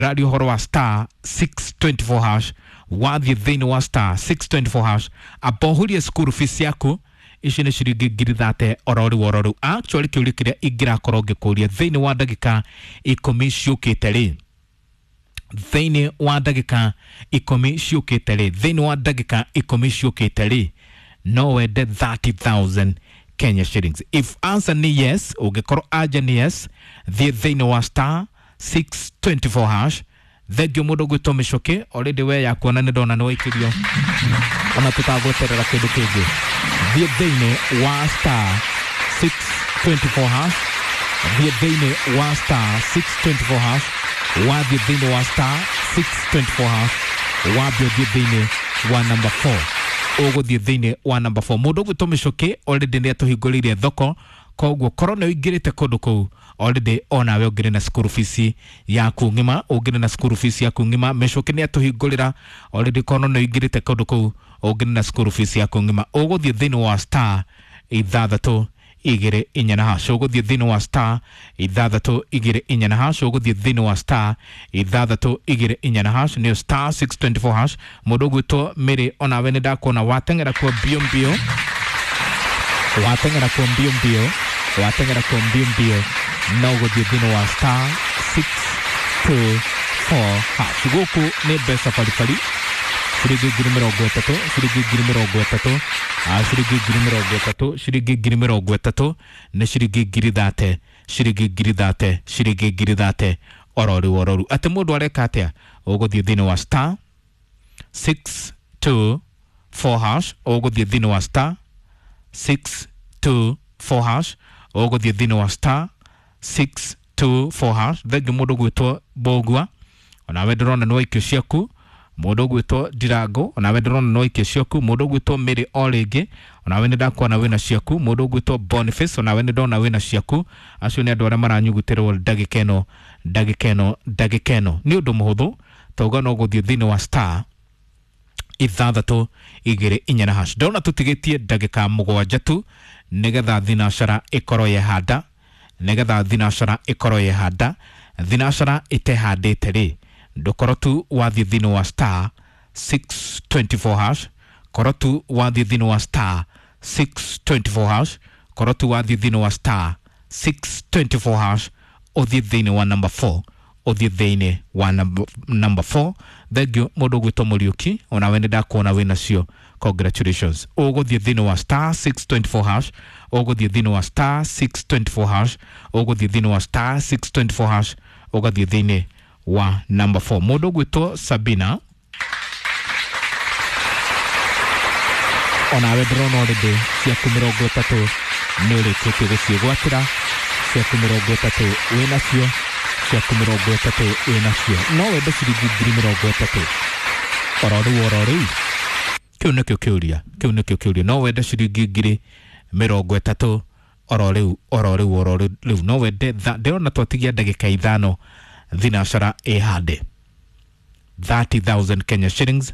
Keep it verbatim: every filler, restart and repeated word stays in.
Ndĩraria ũhoro wa star six two four hash. Wathiĩ thĩinĩ wa star six two four hash, amba ũhũrie school fees yaku. Ici nĩ ciringi ngiri thate oro rĩu oro rĩu. Actually, kĩũria kĩrĩa ingĩrakorwo ngĩkũria thĩinĩ wa ndagĩka ikũmi ciũkĩte rĩ, thĩinĩ wa ndagĩka ikũmi ciũkĩte rĩ, thĩinĩ wa ndagĩka ikũmi ciũkĩte rĩ, no wende thirty thousand Kenya shillings? If answer ni yes, ũngĩkorwo anja nĩ yes, thiĩ thĩinĩ wa star six two four hash. Thengio mũndũ gwĩtwo Mĩcũkĩ, already we yakuona nĩ ndona nĩ waikĩrio, ona tũtagweterera kĩndũ kĩngĩ. Thiĩ thĩinĩ wa star six two four hash, thiĩ thĩinĩ wa star six two four hash. Wathiĩ thĩinĩ wa star six two four hash, wambia ũthiĩ thĩinĩ wa number four, ũgũthiĩ thĩinĩ wa number four. Mũndũ ũgwĩtwo Mĩcũkĩ already nĩ atũhingũrĩire thoko, koguo korwo nĩ ũingĩrĩte kũndũ kũu already, onawe ũngĩrĩ na school fees yaku ng'ima, ũngĩrĩ na school fees yaku ng'ima. Mĩcũkĩ nĩ atũhingũrĩra already. Korwo nĩ ũingĩrĩte kũndũ kũu, ũngĩrĩ na school fees yaku ng'ima, ũgũthiĩ thĩinĩ wa star ithathatũ igĩrĩ inya na hash, ũgũthiĩ thĩinĩ wa star ithathatũ igĩrĩ inya na hash, ũgũthiĩ thĩinĩ wa star ithathatũ igĩrĩ inya na hash, nĩyo star six two four hash. Mũndũ ũgwĩtwo Mĩrĩ, onawe nĩ ndakuona wateng'era kuo mbio mbio, wateng'era kuo mbio mbio, wateng'era kuo mbio mbio. No ũgũthiĩ thĩinĩ wa star six two four hash. Gũkũ nĩ mbeca baribari, ciringi ngiri mĩrongo ĩtatũ, ciringi ngiri mĩrongo ĩtatũ, ah, ciringi ngiri mĩrongo ĩtatũ, ciringi ngiri mĩrongo ĩtatũ nĩ ciringi ngiri thate, ciringi ngiri thate, ciringi ngiri thate oro rĩu oro rĩu. Atĩ mũndũ areka atĩa? Ũgũthiĩ thĩinĩ wa star six two four hash, ũgũthiĩ thĩinĩ wa star six two four hash, ũgũthiĩ thĩinĩ wa star six two four hash. Thengiũ mũndũ gwĩtwo Mbũgua, onawe ndĩrona nĩ waikio ciaku. Mũndũ ũgwĩtwo Ndirango, onawe ndĩrona nĩ waikio ciaku. Mũndũ ũgwĩtwo Mĩrĩ, o rĩngĩ onawe nĩ ndakuona wĩna ciaku. Mũndũ ũgwĩtwo Boniface, onawe nĩ ndona wĩna ciaku. Acio nĩ andũ arĩa maranyugutĩrwo ndagĩka ĩno, ndagĩka ĩno, ndagĩka ĩno. Nĩ ũndũ mũhũthũ, tauga no gũthiĩ thĩinĩ wa star ithathatũ igĩrĩ inya na hash. Ndona tũtigĩtie ndagĩka mũgwanja tu nĩgetha thinacara ĩkorwo yehanda, nĩgetha thinacara ĩkorwo yehanda. Thinacara ĩtehandĩte rĩ, ndũkorwo tu wathiĩ thĩinĩ wa star six two four hash, korwo tu wathiĩ thĩinĩ wa star six two four hash, korwo tu wathiĩ thĩinĩ wa star six two four hash, ũthiĩ thĩinĩ wa number four, ũthiĩ thĩinĩ wa number, number four. Thengio mũndũ ũgwĩtwo Mũriũki, onawe nĩ ndakuona wĩ nacio, congratulations. Ũgũthiĩ thĩinĩ wa star six two four hash, ũgũthiĩ thĩinĩ wa star six two four hash, ũgũthiĩ thĩinĩ wa star six two four hash, ũgathiĩ thĩinĩ wa number four. Mũndũ ũgwĩtwo Sabina, onawe ndĩrona already ciaku mĩrongo ĩtatũ nĩ ũrĩkĩtie gũciĩgwatĩra. Ciaku mĩrongo ĩtatũ wĩ nacio, ciaku mĩrongo ĩtatũ wĩ nacio. No wende ciringi ngiri mĩrongo ĩtatũ oro rĩu oro rĩu? Kĩu nĩkĩo kĩũria, kĩu nĩkĩo kĩũria. No wende ciringi ngiri mĩrongo ĩtatũ oro rĩu oro rĩu oro rĩu? No wende? tha- ndĩrona twatigia ndagĩka ithano thinacara ĩhande thirty thousand Kenya shillings.